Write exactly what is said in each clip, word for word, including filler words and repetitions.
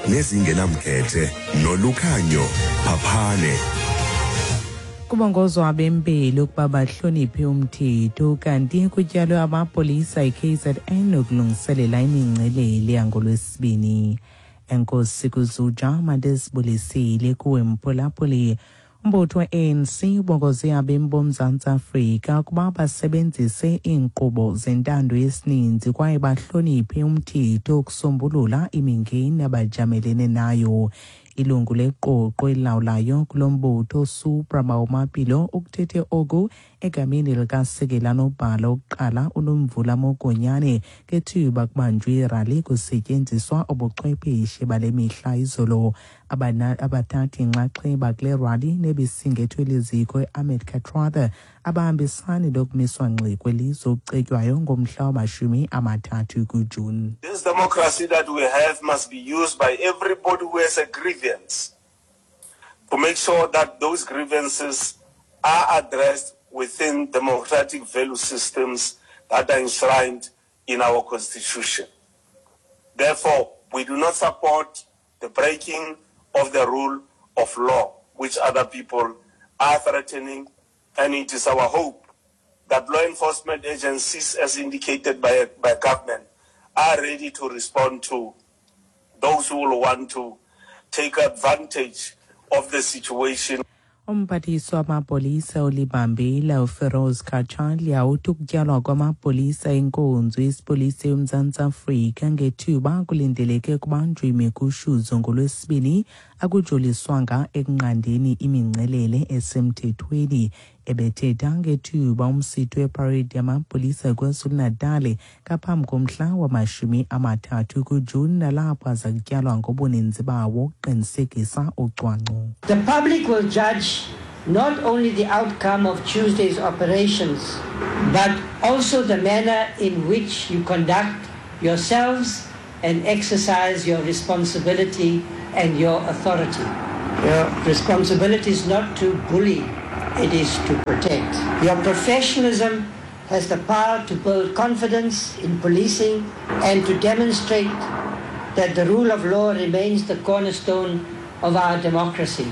Nezingenamkhethe noLukhanyo Phaphane. Kubongozwa abempilo ukuba bahloniphe umthetho, kanti kutyalwe amapolisa e K Z N ukulungiselela imingcelele yangoLwesibini. Enkosi kuzuja mandisibulisile kuwe, mphulaphuli. Umbutho we-A N C ubongoze abemi boMzantsi Afrika ukuba basebenzise iinkqubo zentando yesininzi kwaye bahloniphe umthetho ukusombulula imingeni abajamelene nayo. Ilungu leqoqo elilawulayo kulo mbutho, Supra Mahumapelo, ukuthethe oku egameni likasekela nobhala wokuqala uNomvula Mokonyane ngethuba kubanjwe irali kusetyenziswa ubuchwepheshe bale mihla izolo. Abathathi inxaxheba kule rali, nebisingethwe liziko i-Ahmed Kathrada, abahambisani lokumiswa ngxi kwelizwe okucetywayo ngomhla wamashumi amathathu kuJuni. This democracy that we have must be used by everybody who has a grievance to make sure that those grievances are addressed within democratic value systems that are enshrined in our constitution. Therefore, we do not support the breaking of the rule of law, which other people are threatening, and it is our hope that law enforcement agencies, as indicated by, by government, are ready to respond to those who will want to take advantage of the situation. Umphathiswa wamapolisa olibambile uFiroz Cachalia uthi ukutyalwa kwamapolisa enkonzo yesipolisa yoMzantsi Afrika ngethuba kulindeleke kubanjwe imigushuzo ngoLwesibini akujoliswanga ekunqandeni imingcelele esemthethweni. Ebethetha ngethuba umsitho weparade yamapolisa KwaZulu-Natal ngaphambi komhla wamashumi amathathu kuJuni, nalapho aza kutyalwa ngobuninzi bawo ukuqinisekisa ucwangco. The public will judge not only the outcome of Tuesday's operations, but also the manner in which you conduct yourselves and exercise your responsibility and your authority. Your responsibility is not to bully, it is to protect. Your professionalism has the power to build confidence in policing and to demonstrate that the rule of law remains the cornerstone of our democracy.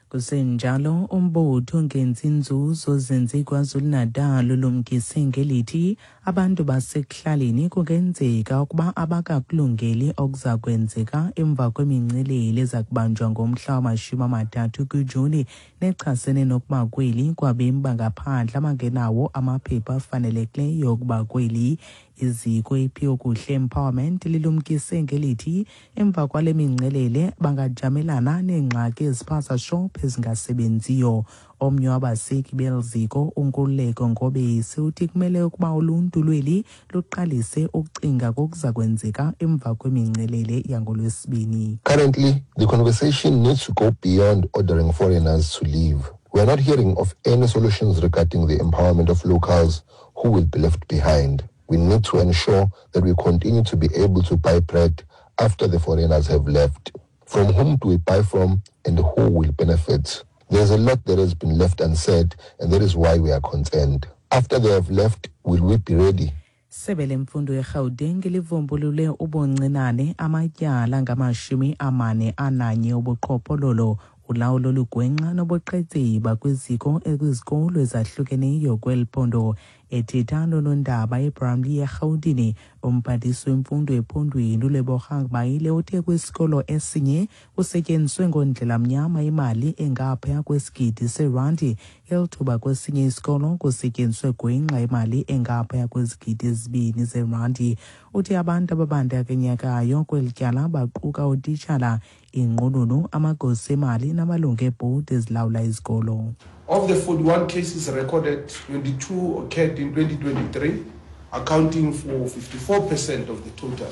Kusenjalo, umbutho ongenzi nzuzo zinze KwaZulu-Natal ulumkise ngelithi abantu basekuhlaleni kungenzeka ukuba abakakulungeli okuza kwenzeka emva kwemingcelele eza kubanjwa ngomhla wamashumi amathathu kuJuni, nechasene nokuba kweli kwabemi bangaphandle abangenawo amaphepha afanelekileyo okuba kweli. Iziko iPhiwokuhle Empowerment lilumkise ngelithi emva kwale mingcelele bangajamelana neengxaki eziphaza shop ezingasebenziyo. Omnye wabaseki beli ziko, uNkululeko Ngobese, uthi kumele ukuba uluntu lweli luqalise ukucinga kokuza kwenzeka emva kwemingcelele yangoLwesibini. Currently, the conversation needs to go beyond ordering foreigners to leave. We are not hearing of any solutions regarding the empowerment of locals who will be left behind. We need to ensure that we continue to be able to buy bread after the foreigners have left. From whom do we buy from and who will benefit? There's a lot that has been left unsaid, and that is why we are concerned. After they have left, will we be ready? Sebe lemfundo eGauteng livumbulule ubuncinane amatyala ngamashumi amane ananye obuqhophololo, ulawulo olugwenxa nobuqhetseba kwiziko kwizikolo ezahlukeneyo kweli phondo. Ethetha nonondaba eBramley eRhawutini, umphathiswa wemfundo ephondweni uLebogang Maile uthe kwisikolo esinye kusetyenziswe ngondlela mnyama imali engaphaya kwesigidi seerandi, elithuba kwesinye isikolo kusetyenziswe gwenxa imali engaphaya kwezigidi ezibini zeerandi. Uthi abantu ababandakanyekayo kweli tyala baquka utitshala, inqununu, amagosa emali namalungu ebhodi ezilawula izikolo. Of the forty-one cases recorded, twenty-two occurred in twenty twenty-three, accounting for fifty-four percent of the total.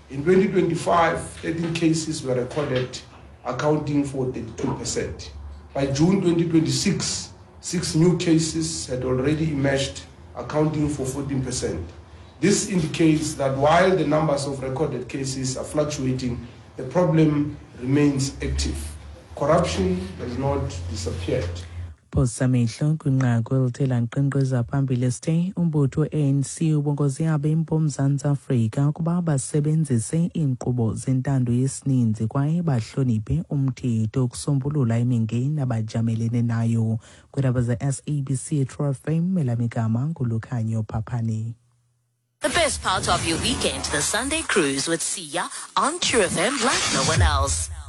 In twenty twenty-five, thirteen cases were recorded, accounting for thirty-two percent. By June twenty twenty-six, six new cases had already emerged, accounting for fourteen percent. This indicates that while the numbers of recorded cases are fluctuating, the problem remains active. Corruption has not disappeared. Phosa amehlo kwinqaku elithe lankqenkqeza phambili site umbutho we-A N C ubongoze abemi boMzantsi Afrika ukuba basebenzise iinkqubo zentando yesininzi kwaye bahloniphe umthetho ukusombulula imingeni abajamelene nayo. Kwiindaba ze-S A B C True F M, elam igama nguLukhanyo Phaphane. The best part of your weekend, the Sunday Cruise with Siya on True F M like no one else.